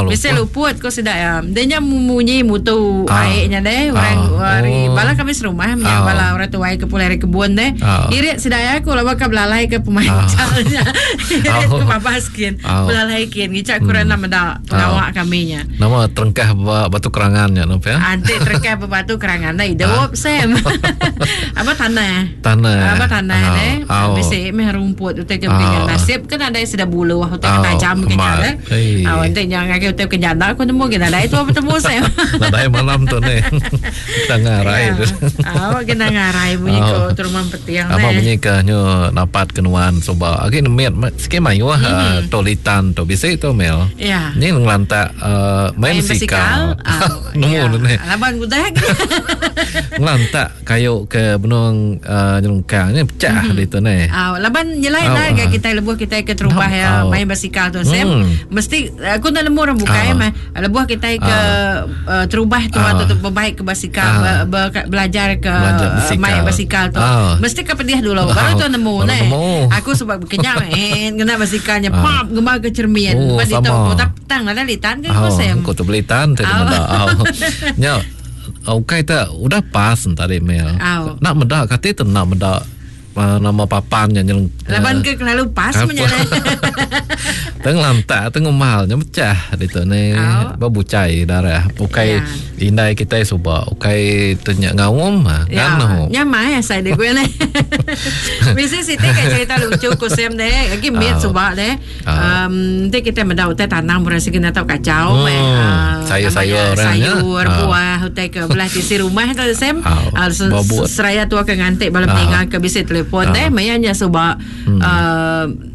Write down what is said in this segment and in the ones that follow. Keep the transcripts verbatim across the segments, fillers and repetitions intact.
Bisa luput ko sida ya. Dia nya munyi mutu airnya deh orang ari bala kami serumah nya bala orang tuai ke pulai ari kebun deh. Irit sida ya aku lawa ka belalai ke pemancal nya. Irit ke babas kin. Belalai kin ngica kurang nak meda pengawa kami nya. Nama terengkah batu kerangan nya no ya. Anti terengkah batu kerangan dah hidup Sam. Apa tanah? Tanah. Apa tanah deh. Bisi meh rumput utai ke begini nasib kan ada sudah buluh utai ke tajam ke nya deh. Ah ente nya ngagai utai ke nyanda aku nemu ke nadai tu betemu Sam. Nadai malam tu ni. Kita ngarai tu. Ah kena ngarai bunyi ko terumah petiang deh. Apa bunyi ke nyu napat ke nuan suba. Agi nemit sikit mayuh tu litan tu bisi tu mel. Ya. Ni ngelantak main basikal. Nemu ni. Laban udah. Ngelantak kayu ke benung nyelungkang ni pecah di tu ni. Ah laban nyelai lah kita lebuh kita ke terubah ya main basikal tu Sam. Mesti aku nak nemu orang bukai mah. Lebuh kita ke terubah tu atau berbaik ke basikal belajar ke main basikal tu. Mesti ke pedih dulu baru tu nemu ni. Aku sebab kenyang eh kena basikalnya pap gemar ke cermin. Lepas itu petang ada litan ke ko Sam. Ko tu belitan tu meda. Nya okey tak udah pas tadi mel. Nak meda kati tu nak meda nama papan nya nyeleng. Laban ke kelalu pas menyala. Teng lantak teng umal nya pecah ditu ni. Bebucai darah. Ukai indai kita suba ukai tenya ngaum kan no. Nya mai asai de gue ni. Mesti siti ke cerita lucu ku Sam deh. Lagi mit suba deh. Um nanti kita meda utai tanam berasi kena tau kacau meh. Sayur-sayur sayur buah utai ke belah sisi rumah tu Sam. Seraya tua ke ngantik bala meninggal ke bisi telefon deh mayanya suba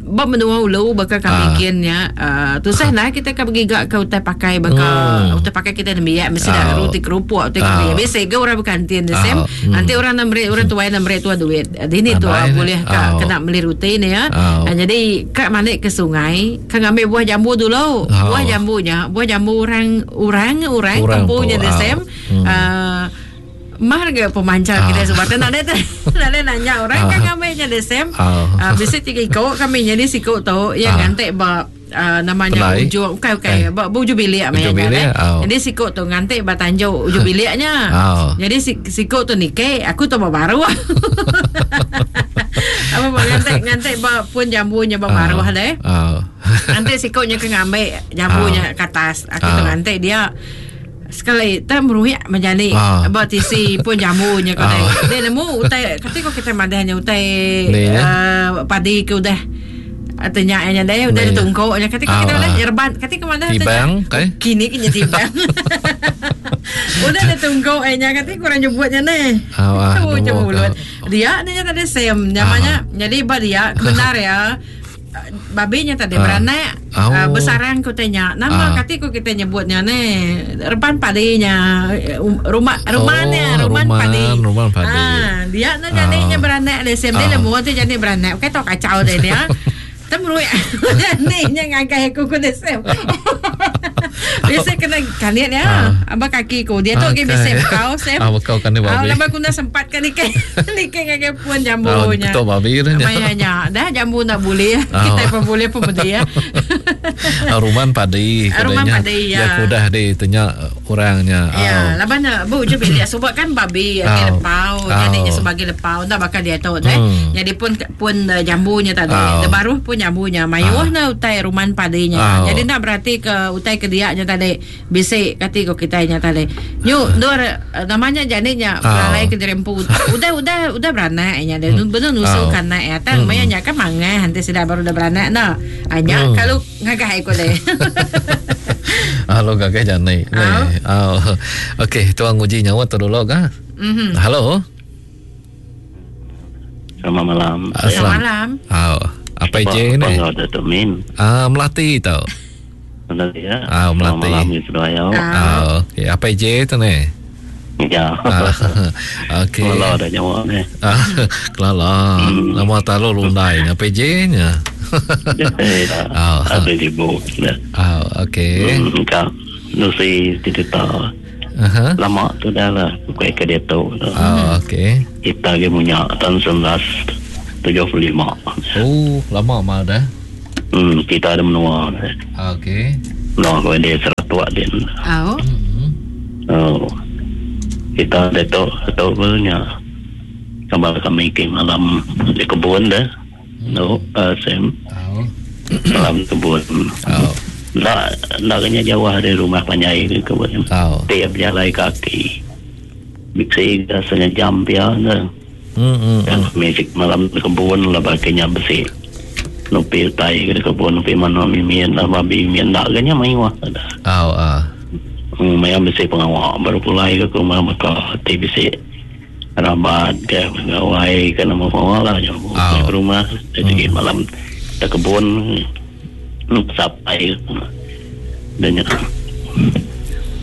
ba menua ulu baka kami kinnya tusah lah kita ke bergiga ke utai pakai baka utai pakai kita nembiak mesti dah roti kerupuk utai kami biasa ke orang berkantin deh Sam. Nanti orang nak beri orang tuai nak beri tua duit dini tua boleh ka kena beli roti ni ya. Jadi kak malik ke sungai ka ngambil buah jambu dulu. Buah jambunya buah jambu orang orang orang kampungnya deh Sam. Mah ke pemancar kita sebab tak ada tak ada nanya orang kan ngambilnya deh Sam. Bisa tiga ikut kami jadi sikut tu yang ngantik ba namanya ujung okey okey ba ujung bilik mainnya. Jadi sikut tu ngantik ba tanjuk ujung biliknya. Jadi sikut tu nike aku tu baru. Apa ngantik ngantik ba pun jambunya ba baru deh. Nanti sikutnya ke ngambil jambunya ke atas. Aku tu ngantik dia. Sekali tak meruyak menjadi ah. Buat isi pun jambunya kau ah. Dia nemu utai ketika kita madahnya utai uh, padi ke udah tanya nya deh udah ditungkok nya ketika kita udah yerban ketika madah tibang kai kini kini tibang udah ditungkok nya ketika kurang nyebutnya neh ah mulut dia nya tadi sem namanya jadi ba dia benar ya babinya tadi beranak oh. uh, bersarang ku tanya nama uh. kati ku kita nyebutnya ni repan padinya rumah rumahnya oh, ruman padi ruman padi ah dia nak jadinya beranak le sem dia lemu tu jadi beranak okey tau kacau dia dia temrui ni nya ngagai aku ku desem biasa kena kalian ya abang kaki ku dia tu okay. Biasa kau sem ah kau kan ni babi ah lama ku nak sempat kan ni ni ngagai pun jambunya betul babi tu nya dah jambu nak boleh kita pun boleh pun boleh ya ruman padi ruman padi ya ya udah di tanya orangnya ya laban bu je bilik sebab kan babi okay, lepau jadinya sebagai lepau dah bakal dia tu deh jadi pun pun jambunya tadi baru pun jambunya mayuh na utai ruman padinya jadi nak berarti ke utai ke diaknya tadi bisik kati ko kita nya tadi nyu dor namanya jadinya belalai ke dirempu udah udah udah beranak nya dia benar nusul kana ya tang mayanya kan mangah nanti sudah baru udah beranak nah hanya kalau ngagah ikut deh. Halo gagah jani. Oh. Okey, tuan nguji nyawa tu dulu kah? Mhm. Halo. Selamat malam. Selamat malam. Oh, apa je ni? Ah, Melati tau. Melati ya. Ah, Melati. Selamat malam seduai. Ah, okey, apa je tu ni? Ya. Okey. Kelala dah nyawa ni. Ah, kelala. Nama talu lundai apa je nya. Ah, ada ibu. Ah, okey. Kak, Lucy cerita. Uh-huh. Lama tu dah lah bukan ke dia tu. Ah, okey. Kita ke punya tahun sembilan tujuh puluh lima. Oh, lama mah dah. Hmm, kita ada menua. Okey. Menua kau dia seratus lubuk din. Oh. Oh. Kita detok atau punya gambar kami ke malam di kebun dah. No, uh, Sam. Oh. Malam kebun. Oh. Nak nak kena jauh dari rumah panjai ke kebun. Oh. Tiap jalan kaki. Biksi setengah jam pia dah. Hmm. Hmm. Dan kami malam di kebun lah baginya besi. Nupi tai ke kebun nupi mana mimian lah babi mimian nak kena maiwah dah. Oh ah. Hmm, maya besi pengawak baru pulai ke rumah maka T B C rabat ke pegawai ke nama pengawak lah jauh Oh. ke rumah jadi hmm. malam ke kebun sampai dan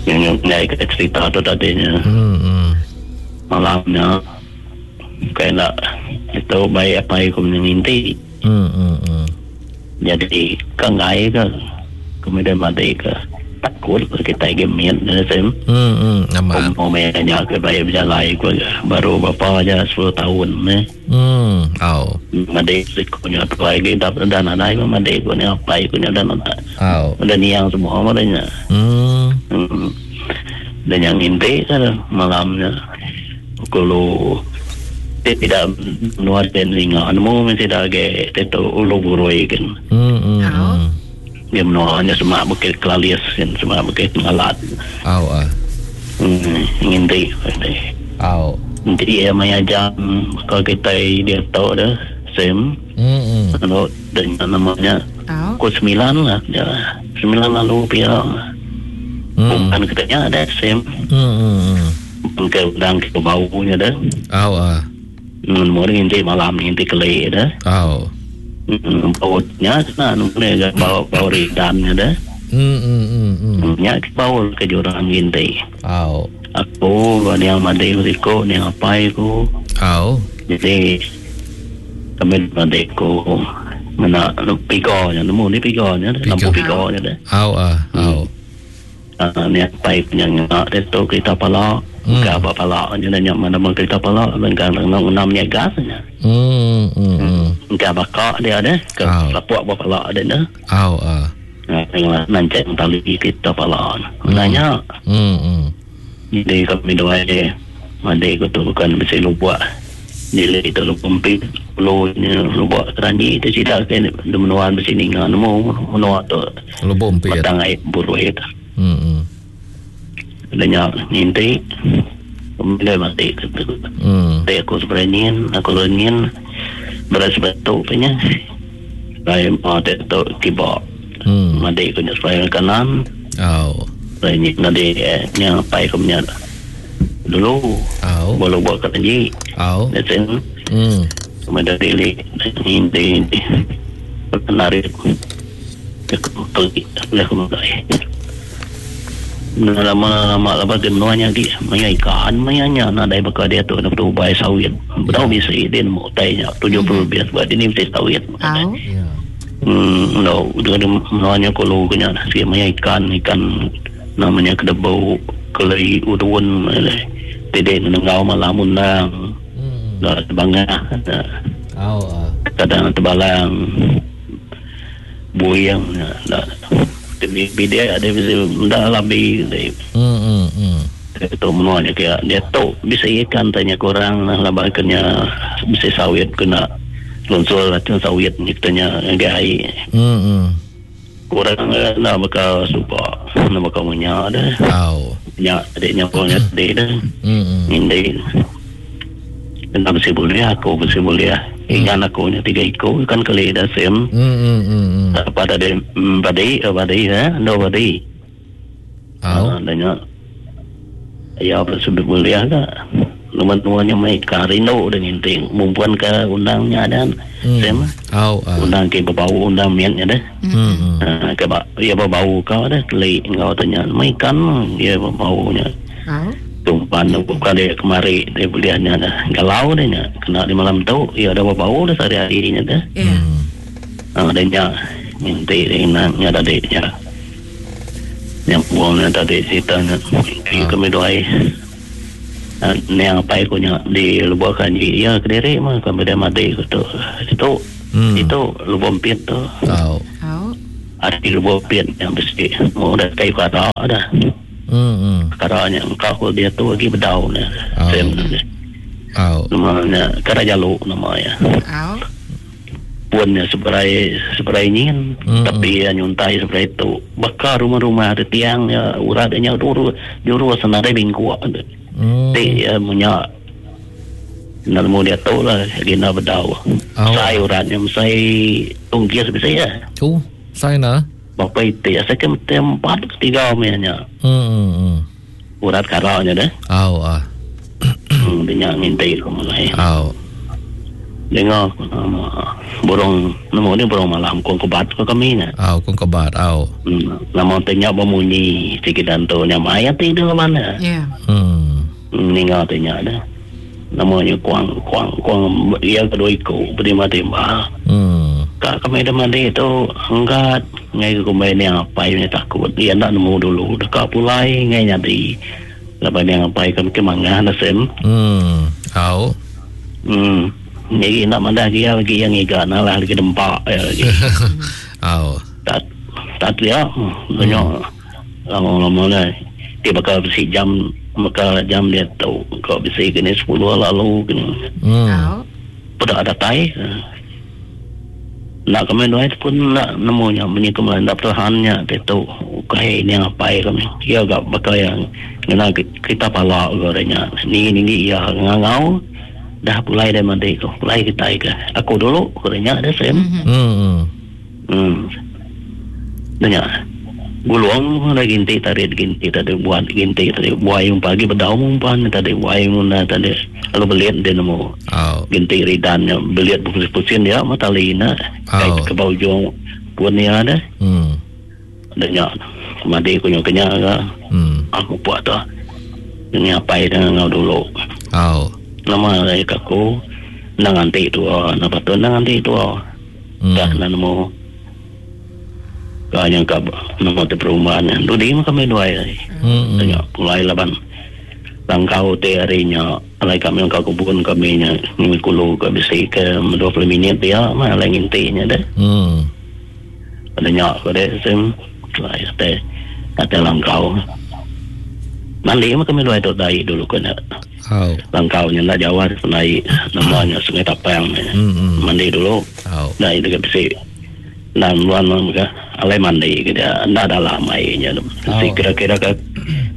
yang yang naik ke cerita tu tadinya Hmm. Hmm. malamnya kayak nak itu baik apa yang aku menyinti Hmm. Hmm. Hmm. jadi kengai ke kemudian mati ke takut kita gemit dan sem Hmm. Hmm. Amat. Umumnya ke baik berjalan aku baru bapa aja sepuluh tahun ni. Hmm. Oh. Madik punya tu lagi dah dah nadai madik punya apa punya dah nadai. Oh. Udah niang semua madanya. Hmm. Hmm. Dan yang inti kan malamnya kalau dia tidak nuat dan linga nemu mesti dah ke itu ulu burui kan. Hmm. Hmm. Hmm. Dia menuanya semak bukit Kelalis kan semak bukit Ngalat. Oh ah. Hmm, inti. Oh. Jadi ya maya jam kalau kita dia tahu dah sem Hmm. Hmm. kalau dengan namanya Oh. pukul sembilan lah ya sembilan lalu pihak Hmm. bukan katanya ada sem Hmm. Hmm. ke udang ke baunya dah Oh ah. hmm mori inti malam inti kele dah Oh. hmm baunya kena nunggu bau bau ridannya dah Hmm. Hmm. Hmm. Hmm. nya bau ke jurang inti Oh. aku yang mandi riko yang apa aku Oh. jadi kami adikku mana pigo nya nemu ni pigo nya lampu pigo nya dah Oh ah. Oh. Ah ni apa punya ngak dia tu kereta pala Hmm. ke apa pala nya nya mana mana kereta pala lengkang enam enam nya gas nya Hmm. Hmm. Hmm. ke bakak dia ada ke Ah. lapuk apa pala dia dah Oh ah. Nah, nancak tali kereta pala nanya Hmm. Hmm. jadi kami dua je adik tu bukan mesti lubak nilai itu lubak lu lubak keranji itu cerita ke menuan mesti ninga nemu menua tu Lubuk empit. batang air buru itu Hmm. Hmm. adanya nginti kemudian mati Hmm. Tapi aku sebenarnya aku lengin beras batu punya saya mau tu kibak Hmm. mati aku supaya kanan Oh. saya ni nanti yang apa aku punya dulu Oh. boleh buat keranji Oh. dan Hmm. kemudian dili inti inti menarik aku pergi boleh aku mulai lama lama lama dia menuanya lagi maya ikan mayanya nak dai bakal dia tu nak ubai sawit betul bisa dia mau tanya tujuh puluh lebih sebab dia ni mesti sawit Oh. Ya. hmm no dia ada menuanya kalau kena si maya ikan ikan namanya kedebau kelai udun tidak menengau malam undang Hmm. dah bangah dah. Oh ah. Kadang terbalang buyang dah bi dia ada bisa dah lebih dia Hmm. Hmm. Hmm. tu menuanya kayak dia tu bisa ikan tanya kurang lah labakannya bisa sawit kena lunsur racun sawit ni katanya gai Hmm. Hmm. kurang lah bakal supa nak bakal minyak dah Oh. minyak adiknya punya adik dah Hmm. Hmm. ini kena mesti boleh aku mesti boleh ikan aku nya tiga ekor ikan keli dah sem Hmm. Hmm. Hmm. Hmm. pada de badi badi ha no badi Oh. adanya ya apa sebab boleh ke Nomor tuanya mereka rindu dengan ting mumpuan ke undangnya dan Hmm. sem Oh ah. undang ke bau undang miannya dah Hmm. Hmm. ha, ke ba ya bau kau dah keli kau tanya ikan ya baunya Oh. tumpan bukan dia kemari dia beliannya dah galau dia nya kena di malam tu ya ada bau dah sehari-harinya dah Ya. Hmm. Ah, dia nya minti dia nak nya tadi nya yang buangnya tadi ceritanya ah. Kami doai ah, ni yang apa aku nya di lubuk kanji ya kediri mah kami dah mati tu itu Hmm. itu lubuk pit tu Oh. Oh. Ada lubuk pit yang besi. Oh, dah kayu kara dah. Hmm. hmm. Karanya engkau dia tu lagi bedau ni. Oh. Sem ni. Au. Namanya kara jaluk namanya. Au. Puannya seberai seberai nyin, Mm-mm. tapi ya nyuntai seberai itu. Bakar rumah-rumah ada tiang ya uratnya dulu dulu senada bingkuk. Hmm. Ti ya punya nalmu dia tu lah gina bedau. Oh. Sai uratnya sai tungkis bisa ya. Tu, sai na. Bapa itu ya saya ke empat tiga nya. Hmm. hmm, hmm. Urat karanya dah. Au ah. Hmm, dia ngintai ke mulai. Au. Dengar nama burung nama ni burung malam kong kebat ke kami nya. Au kong kebat au. Hmm, nama tanya bemunyi sikit dan tu nya maya ti di mana. Ya. Hmm. Hmm, ninga tanya dah. Namanya kuang kuang kuang ia kedua iku beri timba. Hmm. Kak kami dah mandi tu angkat ngai ke kumbai ni apa yang takut. Dia nak nemu dulu dekat pulai ngai nyadi. Lepas ni apa kami ke mangah dah sem. Hmm. Au. Hmm. Ni nak mandah dia lagi yang iga nalah lagi dempak ya lagi. Au. Tak tak dia banyak lama-lama lah. Dia bakal besi jam bakal jam dia tu kau besi kena sepuluh lalu kena. Hmm. Au. Pada ada tai. Nak kami dua itu pun nak nemunya menyikum lah nak pertahannya dia tu kai ni apa kami. Dia agak bakal yang kena kita palak gorengnya. Ni ni ya ngangau. Dah pulai dah mandi tu pulai kita ke aku dulu kurangnya ada sem Hmm. hmm nanya gulung ada ginti tadi ginti tadi buat ginti tadi buai yang pagi bedau umpan tadi buai muna tadi lalu beliat dia nemu Au. ginti ridannya beliat pusing-pusing dia mata lina Oh. kait ke bawah ujung pun dia ada Hmm. nanya mandi kunyo kenya ke Hmm. aku buat tu ini apa dengan ngau dulu Au. nama saya aku nang anti tu nak patut nang anti tu Hmm. dah nak nemu kau yang kau nemu te perumahan tu dia kami dua ai Hmm. tengok pulai laban langkau te harinya alai kami kau kebun kami nya ni kulu ke besi ke dua puluh minit dia mah alai ngintinya dah Hmm. ada nyak ke dek sem lai te kata langkau mandi mah kami dua itu dai dulu kena Au. langkaunya nak jawab naik namanya Sungai Tapang Hmm. hmm. mandi dulu Au. nah itu ke besi dan luan ke alai mandi ke dia ndak dalam airnya Oh. si kira-kira ke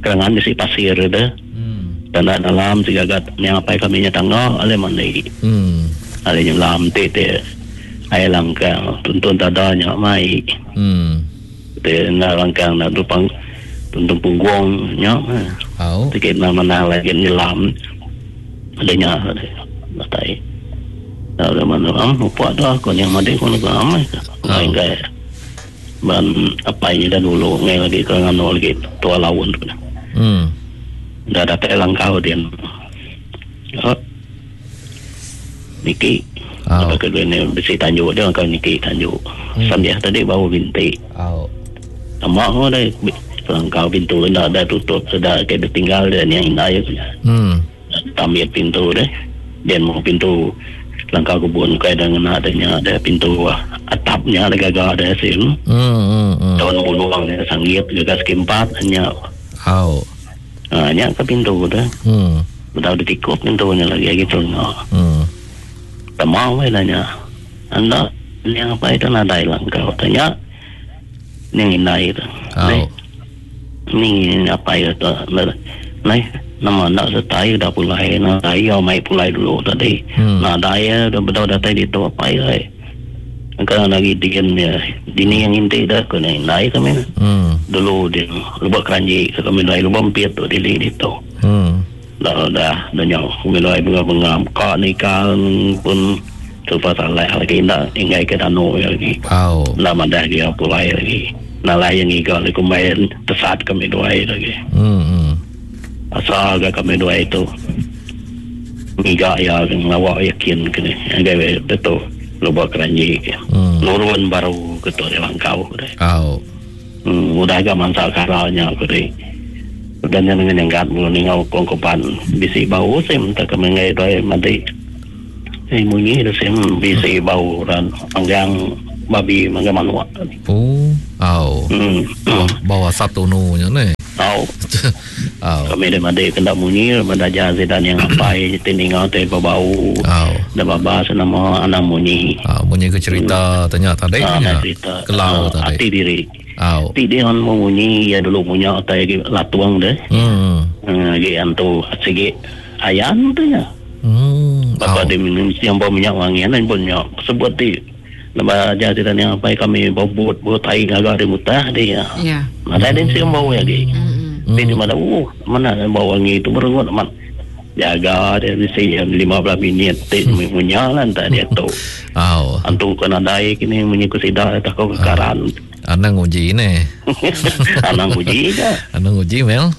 kerangan besi pasir dah Hmm. dan ndak dalam tiga gat yang apa kami nya tangga alai mandi Hmm. alai nyelam te te air langkang tuntun dadanya mai Hmm. te nak langkang nak tupang tuntun punggung nya Au. sikit nama mana lagi nyelam adanya ada datai ada mana am upa dah ko yang made ko nak am ngai ngai ban apa ini dah dulu ngai lagi ke ngano lagi tua laun tu Hmm. dah datai langkau dia oh niki Au. apa kedua ni besi tanjuk dia kau niki tanjuk Hmm. sambil tadi bau bintik Au. sama ko dah langkau pintu dah dah tutup sudah kayak tinggal dia ni yang indah ya Hmm. tambah pintu deh dan mau pintu langkah kebun kai dengan adanya ada pintu ah, atapnya ada gagah ada sim Hmm. Hmm. Hmm. tahun puluhan ya sanggit gagas kempat hanya Au. hanya ke pintu dah Hmm. udah ditikup pintunya lagi gitu no Hmm. tak mau eh nanya anda yang apa itu nadai langkah tanya ni yang indah itu Au. ni apa itu ni nama nak sertai dah pulai nak daya mai pulai dulu tadi Hmm. nak daya dah betul datai di tu apa ya kan lagi dian ya dini yang inti dah kena indai kami Hmm. dulu dia lubak keranji kami dai lubak empiet tu di di tu Hmm. dah dah dah nyau kami dai bunga-bunga kak nikah pun serba salah lagi ndak ingai ke danu lagi Au. lama dah dia pulai lagi nalah yang iga lagi main tesat kami dua lagi Hmm. Hmm. asal agak kami dua itu ngiga ya ngawak yakin kene agak betul lubak keranji ke Hmm. nurun baru ke tu di langkau ke Au. hmm, udah agak mansa karanya ke deh dan yang dengan yang gat mulu ningau kongkopan bisi bau sim tak kami ngai doi mati eh munyi dah sim bisi bau dan anggang Babi mangga manuk. Oh, au. Hmm. Bawa satu nu nya ni. Au. Au. Kami dah mandi kena munyi mendaja sedan yang apai tiningau te bau. Au. Dah babas nama anak munyi. Au, munyi ke cerita tanya tadi nya. Cerita. Kelau tadi. Ati diri. Au. Ti dia on munyi ya dulu punya tai latuang deh. Hmm. Lagi antu segi ayam tu nya. Hmm. Bapa dia minum yang bau minyak wangi kan pun minyak sebut ti. Lepas ajar cerita ni apa kami bau bot bau tai agak dia mutah dia. Ya. Ada dia siang bau lagi. Hmm. Dia di mana uh mana bau wangi itu berengut amat. Jaga dia mesti lima belas minit ti punya lah entah dia tu. Au. Antu kena dai kini munyi kusida tak kau kekaran. Anang uji ni. Anang uji ke? Anang uji Mel.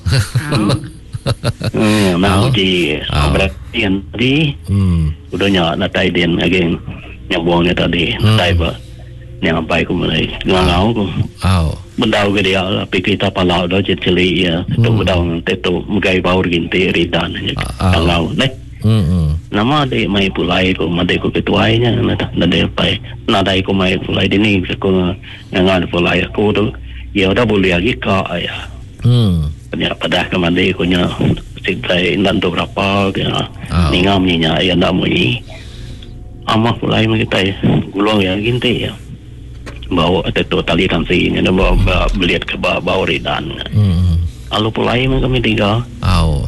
Hmm, anang uji. Berarti yang tadi. Hmm. Udahnya nak tai din lagi. Nyambungnya tadi, hmm. Tai ba, yang apa aku mulai ngangau aku. Oh. Bendau ke dia lah, pergi kita palau dah cili ya, tu bendau tu megai bau ginti ridan, ngangau, neh. Hmm. Nama dia mai pulai aku, mati aku ketuainya, nada nada apa, nada aku mai pulai dini, aku ngangan pulai aku tu, ya udah boleh lagi kak ya. Hmm. Nya padah ke mandi aku nya, sintai nanti berapa, ya, ningam nya, ya ndak munyi. Amah pulai kita ya, gulung ya ginti ya. Bawa tetu tali tansi ni, bawa beliat ke bawa bawa ridan. Hmm. Alu pulai kami tiga. Au.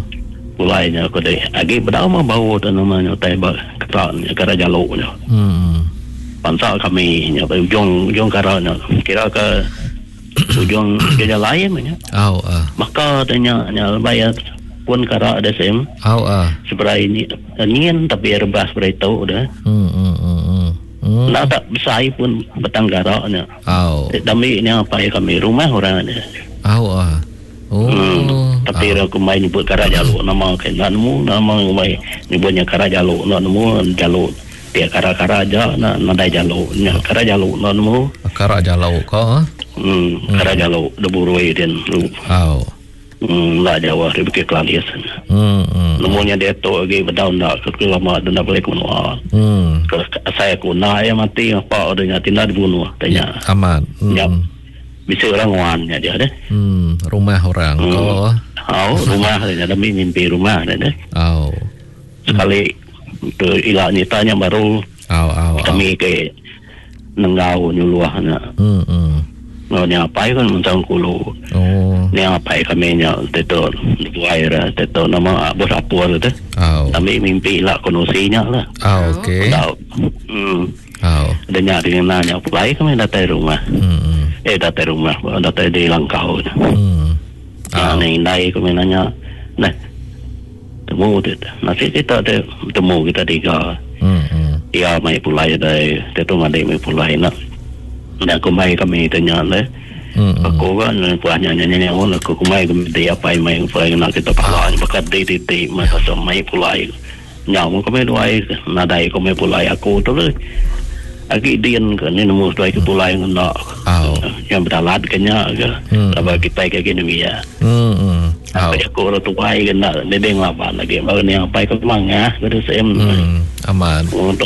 Pulai nya aku deh. Agi bedau mah bawa tu namanya tai ba ketan kara jaluk nya. Hmm. Pansa kami nya ujung ujung kara nya. Kira ke ujung ke jalan nya. Au ah. Maka tanya nya bayar pun kara ada sem. Au ah. Seberai ni nien tapi rebas seberai tu dah. Hmm hmm hmm. Hmm. Nak tak besar pun batang karaknya. Au. Dami ni apa yang kami rumah orang ni. Au ah. Oh. Hmm. Tapi aku main nyebut kara jaluk nama kan nak nemu nama main nyebutnya kara jaluk nak nemu jaluk dia kara-kara aja nak nadai jaluk nya kara jaluk nak nemu. Kara jaluk ko. Hmm, kara jaluk deburui den. Au. Hmm, lah jauh dari Bukit Kelalis. Hmm, hmm. Nemunya dia tu lagi bedau nak ke lama dan nak boleh keluar. Hmm. Ke saya aku nak yang mati apa adanya tindak dibunuh tanya. Ya, aman. Hmm. Ya. Bisa orang wannya dia deh. Hmm, rumah orang hmm. ko. Oh, rumah dia demi mimpi rumah dia deh. Oh. Sekali ke ilak ni tanya baru. Oh, oh, kami oh. ke nenggau nyuluah nak. Hmm, hmm. No ni apa kan mentang kulu. Oh. Ni apa kami nya teto buai ra teto nama bos apur tu. Oh. Kami mimpi lah konosinya lah. Oh, okey. Tahu. Hmm. Oh. Ada nya dengan nanya pulai kami datang rumah. Hmm. Eh datang rumah, datang di Langkau. Hmm. Oh. Ni indai kami nanya. Nah. Temu tu. Nasi kita tu temu kita tiga. Hmm. Ya mai pulai dai teto mandi mai pulai nak. Dan aku mai kami tanya le. Hmm, aku kan puahnya nyanyi nyanyi aku kumai kami dia apa mai pulai nak kita pala bakat di titik masa mai pulai. Nyamu kami duai nadai kami pulai aku tu le. Agi dian ke ni nemu duai ke pulai nak. Oh. Yang berdalat kenya ke. Lepas kita ke gini ya. Hmm. Oh. Aku orang tuai ke nak dia dia ngelawan lagi. Baru ni apa ke mangah ke saya. Hmm. Aman. Untuk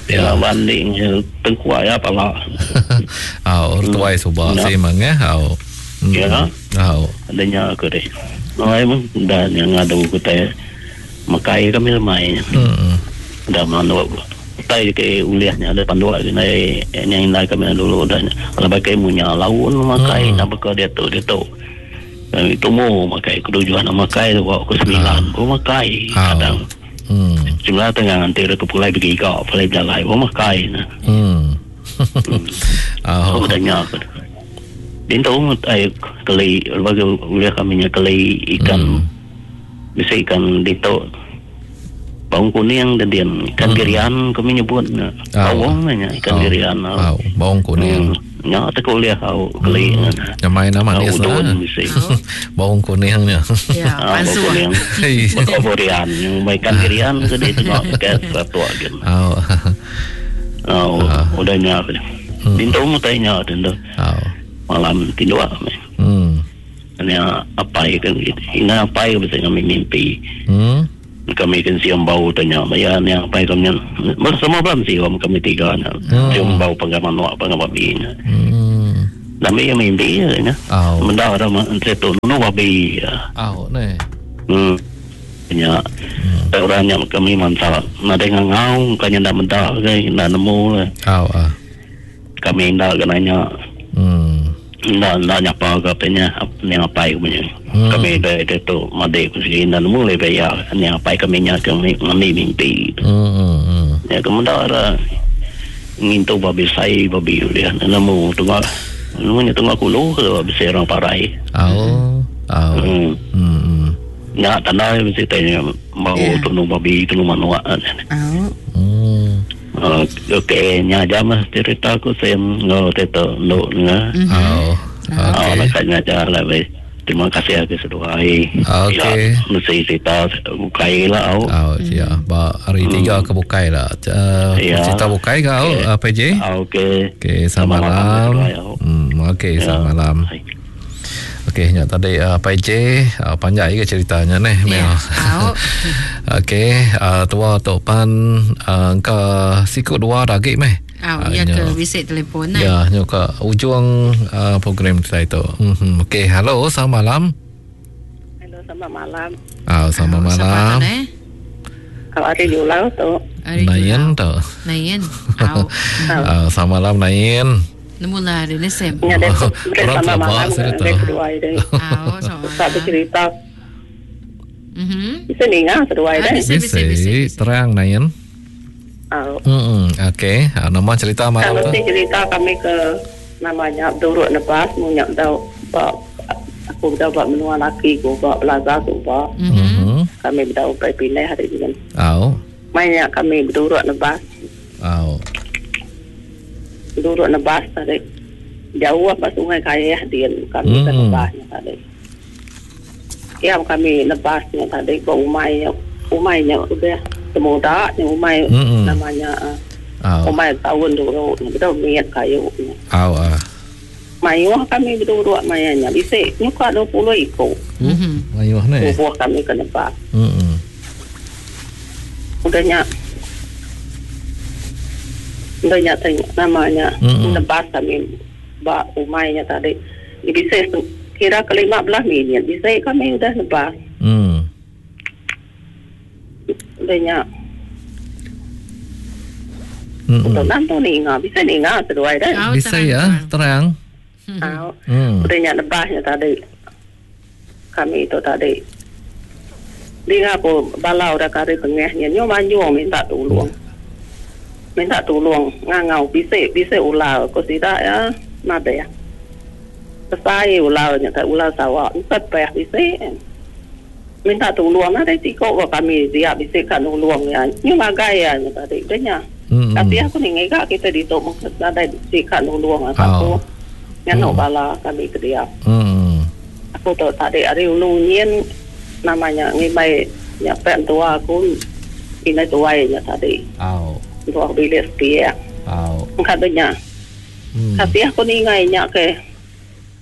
ya banding tengkuak ya pala. Oh, tuai subah si mangah. Oh. Ya. Oh. Adanya aku deh. Noi mung dah yang ngadu kita makai kami lemai. Hmm. Dah mandu. Tai ke uliahnya ada pandu lagi nai yang indai kami dulu dah. Kalau pakai munya laun makai nak bekal dia tu dia tu. Kami temu makai ketujuan makai tu ke sembilan. Ko makai kadang. Hmm. Jumlah tengah nanti ke pulai pergi kau pulai berjalan oh makai nah. Hmm. Oh, tanya aku. Dinto ai keli bagi uliah kami nya keli ikan. Hmm. Bisa ikan dito. Bawang kuning dan dian ikan hmm. girian kami nyebut oh. Bawang nya ikan oh. girian. Oh, bawang kuning. Hmm. Nya tak kuliah kau keli. Hmm. Yang main nama dia lah. Bawang kuning nya. Ya, pansu. Bawang girian, yang ikan girian ke dia tengok ke satu agen. Oh. Oh, udah nya. Dinto mu tanya dinto. Oh. Malam tidur kami. Hmm. Nya apa ikan gitu. Ina apa bisa kami mimpi. Hmm. Kami kan siam bau tanya maya ni apa kami semua belum siam kami tiga nya. Siam bau penggaman wak penggaman babi nya. Hmm. Dami yang mimpi nya. Benda ada menteri tu nu babi. Au ne. Hmm. Nya. Orang nya kami mantap. Nadai ngangau kanya ndak meda ke ndak nemu lah. Au ah. Kami ndak kena nya. Hmm. Ndak ndak nyapa ke apanya ni apai punya. Hmm. Kami dari tu madik segi ndak nemu le bayar ni apai kami nya kami kami mimpi. Hmm. Hmm. Ya kemudian ada ngintu babi sai babi dia nemu tunggu nemu nya tunggu kulu ke babi sai orang parai. Au. Au. Hmm. Hmm. Nya tanda mesti tanya mau Yeah. tunu babi tunu manuak. Au. Hmm. Uh, okey nya aja mah cerita aku saya ngau teto nduk nga. Au. Ah, Okey. nak nya aja lah baik. Terima kasih aku seduai. Okey. Ya, mesti cerita bukai lah au. Au, ya, ba hari tiga ke bukai lah. Uh, Ya. Cerita bukai ke au, Okey. uh, P J? Ah, okey. Okey, selamat malam. seduai, au. Hmm, okey, Ya. selamat malam. Hai. Okey, nya tadi uh, P J uh, panjai ke ceritanya neh, Mel. Ya. Au. Okey, uh, tua tok pan uh, ke siku dua lagi meh. Au, Ah, ya nya. ke bisik telefon nah. Ya, nyo ke ujung uh, program kita itu. Mm-hmm. Okey, halo, selamat malam. Halo, selamat malam. Ah, selamat Au, siapa malam. tu, eh? Kalau ada Julau tu, Ari Nain Julau. tu. Nain. Au. Ah, selamat malam Nain. Nemu lah hari ni Sam. ni ada Orang selamat terabak malam saya tu. ada kedua ini. Au, selamat Tak malam. bercerita. Mhm. Bisa ninga kedua Ah, ini. bisa. Bisa, bisa, bisa. terang Nain. Oh. Hmm, okey. Ah, nama cerita malam Kalau tu. si cerita kami ke namanya Duruk Nebas, munyak dau bak aku dah buat menua laki ku bak belajar tu bak. Mhm. Mhm. Kami dah upai pindah hari ini. Au. Banyak kami berduruk nebas, Au. berduruk nebas tadi. Jauh apa sungai Kayah dia kami ke Hmm. nebasnya tadi. Ya kami nebasnya tadi ke umai umainya udah semuda nya umai Mm-mm. namanya uh, Au. umai tahun dulu betul miat kayu. Au ah. Mayuh kami berduruk mayanya bisa nyuka dua puluh ikut. Mhm. Mayuh ni. Tubuh kami ke nebas. Hmm. Udahnya Udahnya tanya namanya Mm-mm. nebas kami bak umainya tadi. Bisa kira ke lima belas minit bisa kami udah nebas. Hmm. Udahnya Hmm. udah nanti ninga bisa ninga seduai dah. Au, Bisa terang, ya, terang. terang. Au. Hmm. Udahnya nebasnya tadi. Kami itu tadi. Dia aku balau dah kari tengahnya nyo manjung minta tolong. Minta tolong ngangau bisa bisa ular ko tidak ya nada ya. Pesai ularnya tak ular sawah empat payah bisa. Minta tolong ada tiko ko kami dia bisa kan tolong ya. Nyo magai ya nya tadi udahnya. Hmm. Tapi aku ni ngegak kita di tok ada sikat nulung Oh. aku. Ngano Hmm. bala kami ke dia. Hmm. Aku tu tadi hari ulu nyen namanya ngibai nyapek tua aku ini tuai nya tadi. Au. Tua bilik setia. Au. Katanya, Hmm. tapi aku ni ngai nya ke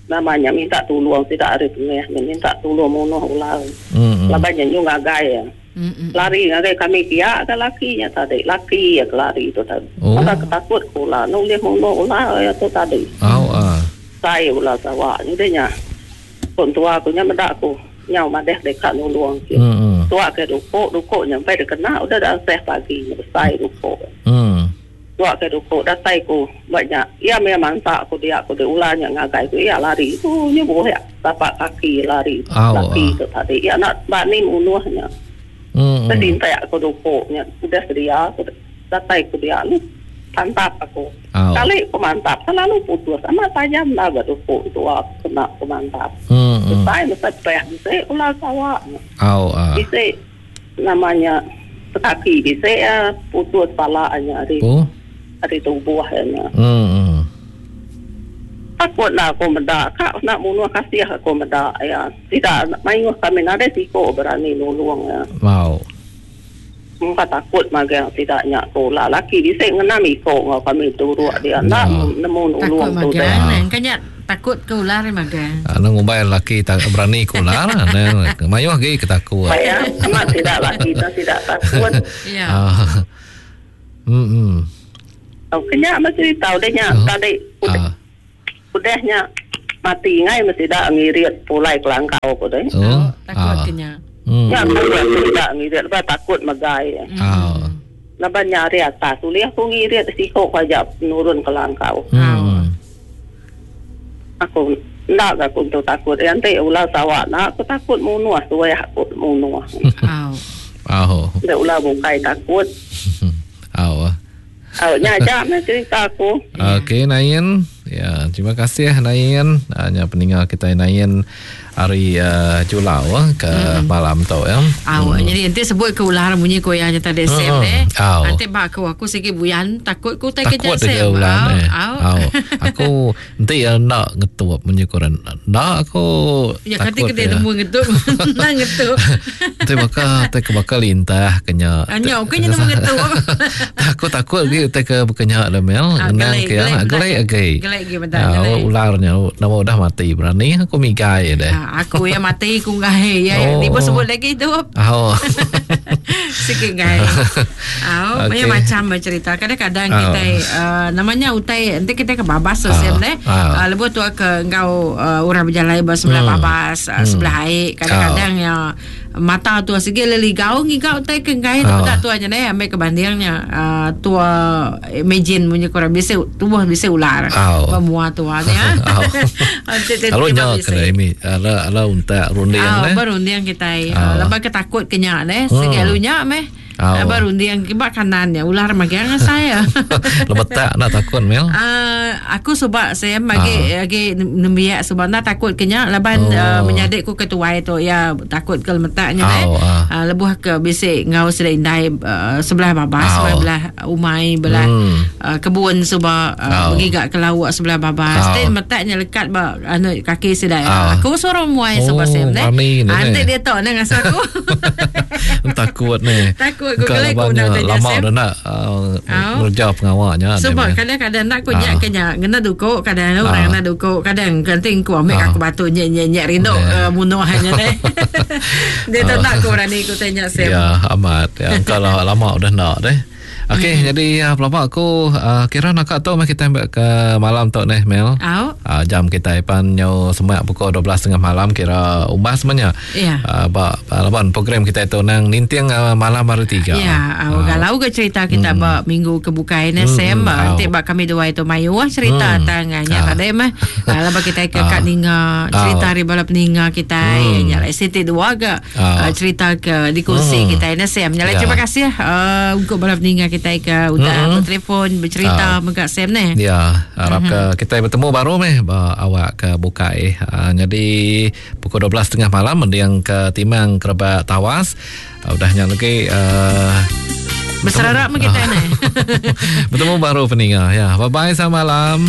namanya minta tolong tidak ada tengah minta tolong munuh ular. Hmm. Labannya nyu ngagai ya. Mhm. Lari ngagai kami kia ke lakinya tadi. Laki ya ke lari itu tadi. Oh. Maka ketakut ular. Nulih munuh ular ya tu tadi. Au ah. Saya ular sawah ni dia nya. Pun tua aku nya medak aku. Nyau madeh dekat nulung. Hmm. Tua ke dukuk, dukuk nyampe dia kena udah dah seh pagi nya besai dukuk. Hmm. Tua ke dukuk datai ku banyak. Ia memang tak aku dia aku dia ularnya ngagai ku ia lari. Tu nya boleh tapak kaki lari. Au, Laki ah. tu tadi. Ia nak bani munuhnya. Hmm. Tersintai aku dukuknya. Udah sedia aku datai ku dia lu mantap aku. Au. Kali aku mantap, selalu putus. Sama tajam lah dukuk tu aku kena aku mantap. Hmm. Hmm. Saya mesti payah bisa ular sawah. Au ah. Bisa namanya kaki bisa ya putus palanya dari Oh. dari tubuhnya. Hmm. Hmm. Takut lah aku mendak. Kak nak bunuh kasih aku mendak ya. Tidak mayuh kami nada siko berani nulung ya. Mau. Muka takut magang tidak nyak tu lah. Laki bisa ngenam iko ngau kami turut dia. Nak Ya. nemu Takut nulung tu magang dah. nah. Kan nya Takut ke ular magang. Anu ngumbai laki tak berani ke ular. Nah, mayuh lagi ke takut. Bayang amat tidak laki tu tidak takut. Ya. Ah. Hmm. hmm. Oh, kenya mesti tahu deh nya Oh. tadi udah Ah. udahnya mati ngai mesti dak ngirit pulai ke langkau ko deh. Oh. Takut Ah. kenya. Hmm. Nya aku tidak ngirit lepas takut megai. Ah. Lepas nyari atas ulih aku ngirit siko aja nurun ke langkau. Hmm. Aku ndak aku tu takut. Nanti ular sawah nak aku takut munuh suai aku munuh. Au. Ah. Ndak ular bukai takut. Ah. Oh, nya aja meh cerita aku. Okey Nain. Ya, terima kasih Nain. Hanya peninggal kita Nain hari uh, Julau eh, ke mm. malam tu ya. Au, hmm. jadi nanti sebut ke ular bunyi ko yang tadi Sam Hmm. eh. Au. Nanti bak aku aku sikit buyan takut ku tak Takut kejar dia Sam. ular Au, eh. au. Au. Aku nanti ya nak ngetup bunyi koran. Nak aku Ya kata takut kita ya. temu ngetup. Nak ngetup. Nanti bakal tak ke bakal lintah kenya. Anya okey nya temu ngetup. Aku takut lagi tak ke bekenya dah mel. Ah, Ngenang gelai, ke gelai ah, bentar. gelai lagi. Gelai lagi bentar, Ah, gelai. ularnya nama udah mati berani aku migai deh. Ah, aku yang mati ku ngai. Ya, Oh. oh. Tiba sebut lagi tu. Oh. Sikit ngai. Au, Okey. banyak macam bercerita. Kadang-kadang Au. kita uh, namanya utai nanti kita ke babas so Ah, Sam deh. ah. Uh, lebuh tu ke engkau uh, orang berjalan ber sebelah Hmm. babas, uh, sebelah air. Kadang-kadang ya mata tu sikit leligau ngigau utai ke ngai tu Ah. tak tu aja deh ambil kebandingnya uh, tua imagine punya korang bisa tubuh bisa ular. Au. Pemua tua nya. Au. Lalu nya kena ini ala ala untak runding Ah, eh. berunding kita. Ah. Uh, lepas ketakut kenyak deh. Hmm. Sikit lunya meh. Ah. Uh. Berunding kibak kanan ya. Ular magang saya. Lebetak nak takut mel. Uh, aku sebab saya bagi uh. lagi nembiak sebab nak takut kenyak laban Oh. oh. uh, menyadik ku ketuai tu ya takut ke lemetaknya Oh, eh. ah. Uh, lebuh ke bisik ngau sedai indai uh, sebelah babas Oh. sebelah belah umai belah Hmm. uh, kebun sebab uh, Oh. pergi ke laut sebelah babas. Oh. Oh. lemetaknya lekat ba anu kaki sedai. Oh. Aku suruh muai Oh, sebab saya deh. berani ni, Nanti ni. dia tahu nak ngasa aku. Takut ni. Takut aku Kau gelai aku labannya nak tanya lama Sam. dah nak uh, Au. ngerja pengawaknya. Sebab dia, Mel. kadang-kadang nak ku nyak Ah. kenyak kena dukuk kadang orang Ah. kena dukuk kadang genting ku ambil Ah. aku batu nyek nyek nyek rindu Yeah. uh, bunuh hanya deh. Dia tak nak ku berani ku tanya Sam. Ya, amat. Ya, kalau lama udah nak deh. Okey, mm-hmm. jadi uh, pelabak aku uh, kira nak tu meh kita ambil ke malam tu neh Mel. Au. Uh, jam kita pan nyo semak pukul dua belas tiga puluh malam kira umbas semuanya. Ya. Uh, ba, laban program kita itu nang ninting uh, malam hari tiga. Ya, uh, kalau ke cerita kita mm. ba minggu ke bukai ne Hmm, Sam, hmm, uh, nanti au. ba kami dua itu mayu ah, cerita Hmm. tangannya Ah. tadi mah. Uh, lepas kita ke Ah. kat ninga cerita Ah. hari bala peninga kita Hmm. hmm. nyala siti dua ke Ah. uh, cerita ke dikongsi Hmm. kita ne Sam. Nyala Ya. terima kasih uh, untuk bala peninga kita ke udah Hmm. bertelefon bercerita Ah. mega Sam ne. Ya, harap mm-hmm. ke kita bertemu baru meh ba awak ke bukai. Uh, jadi pukul dua belas tiga puluh malam mendiang ke Timang Kerebak Tawas. Uh, udahnya lagi uh, Berserara mah kita ne. bertemu baru peninga ya. Bye bye selamat malam.